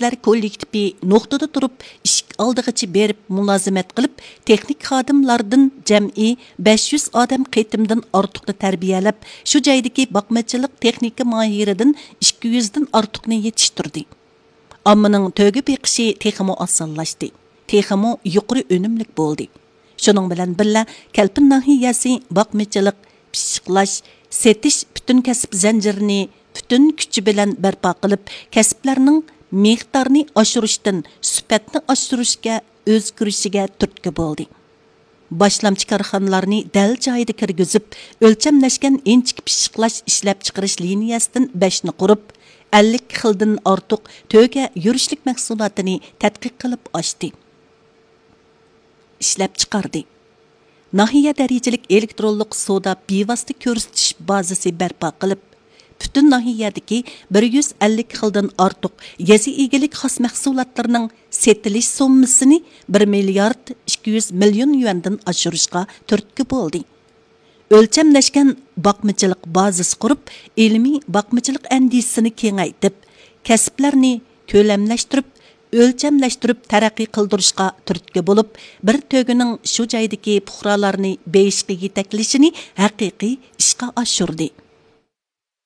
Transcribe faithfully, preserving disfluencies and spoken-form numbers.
مۇتەخەسسىسلەر كوللېكتىپى نۇقتىدا تۇرۇپ، ئىشىك ئالدىغىچە بېرىپ مۇلازىمەت قىلىپ، تېخنىك خادىملاردىن جەمئىي بەش يۈز ئادەم قېتىمدىن ئارتۇقنى تەربىيەلەپ، شۇ جايدىكى باقمىچىلىق تېخنىكا ماھىرىدىن ئىككى يۈزدىن ئارتۇقنى يېتىشتۈردى. ئاممىنىڭ تۆگە بېقىشى تېخىمۇ ئاسانلاشتى، تېخىمۇ يۇقىرى ئۈنۈملۈك بولدى. شۇنىڭ بىلەن بىللە، كەلپىن ناھىيەسى باقمىچىلىق، پىششىقلاش، سېتىش پۈتۈن كەسىپ زەنجىرىنى پۈتۈن كۈچى بىلەن بەرپا قىلىپ، كەسىپلەرنىڭ مىقدارىنى ئاشۇرۇشتىن سۈپەتنى ئاشۇرۇشقا ئۆزگىرىشىگە تۈرتكە بولدى. باشلامچى كارخانىلارنى دەل جايىدا كىرگۈزۈپ، ئۆلچەملەشكەن ئىنچىكە پىششىقلاش ئىشلەپچىقىرىش لىنىيەسىدىن بەشنى قۇرۇپ، ئەللىك خىلدىن ئارتۇق تۆگە يۈرۈشلۈك مەھسۇلاتىنى تەتقىق قىلىپ ئاشتى. ئىشلەپچىقاردى. ناھىيە دەرىجىلىك ئېلېكترونلۇق سودا بىۋاسىتە كۆرسىتىش بازىسى بەرپا قىلىپ، پۈتۈن ناھىيەدىكى بىر يۈز ئەللىك خىلدىن ئارتۇق يېزا ئىگىلىك خاس مەھسۇلاتلىرىنىڭ سېتىلىش سوممىسىنى بىر مىليارد ئىككى يۈز مىليون يۈەندىن ئاشۇرۇشقا تۈرتكە بولدى. ئۆلچەملەشكەن باقمىچىلىق بازىسى قۇرۇپ، ئىلمىي باقمىچىلىق ئەندىزىسىنى كېڭەيتىپ، كەسىپلەرنى كۆلەملەشتۈرۈپ، ئۆلچەملەشتۈرۈپ تەرەققىي قىلدۇرۇشقا تۈرتكە بولۇپ، بىر تۆگىنىڭ شۇ جايدىكى پۇقرالارنى بېيىشقا يېتەكلىشىنى ھەقىقىي ئىشقا ئاشۇردى.